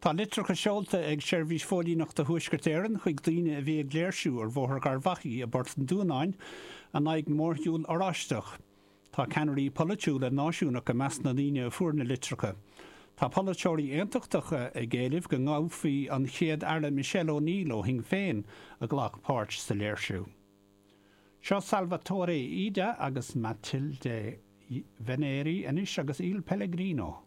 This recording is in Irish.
Tá litreacha seolta ag Seirbhís Phóilíneachta Thuaisceart Éireann chuig daoine a bhí ag léirsiú ar Bhóthar Gharbhachaidh i bPort an Dúnáin in aghaidh na mórshiúl Oráisteach. Tá ceannairí polaitiúla náisiúnacha i measc na ndaoine a fuair na litreacha. Tá polaiteoirí aontachtacha ag éileamh go ngabhfaí an Chéad-Aire Michelle O'Neill ó Shinn Féin a ghlac páirt sa léirsiú. Seo Salvatore Ida agus Matilde Veneri anois agus Il Pellegrino.